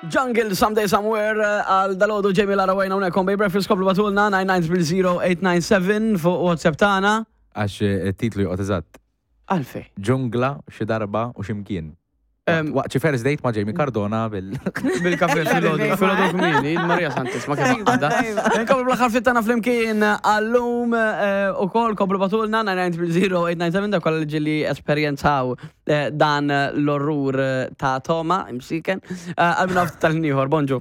Jungle Someday Somewhere għal dalodu Jamie Lara Wayne hawnhekk on Bay Breakfast komplu batulna 9900897 fuq WhatsApp tagħna. Għax it-titlu joqgħod eżatt. Għalfej. Ġungla xi darba u x'imkien. Waqt xi first date ma' Jamie Cardona bil. Bil-kafe filgħodu, filgħodu kmieni, il-Marija Santisma kif għadha. Nkomplu bl-aħħar ftit tagħna flimkien għallum ukoll komplu batulna 9900897 dak kollha li ġieli esperjenzaw dan l-orrur ta' Toma, imsiken. Għal minn tal-ħin ieħor, bonġu.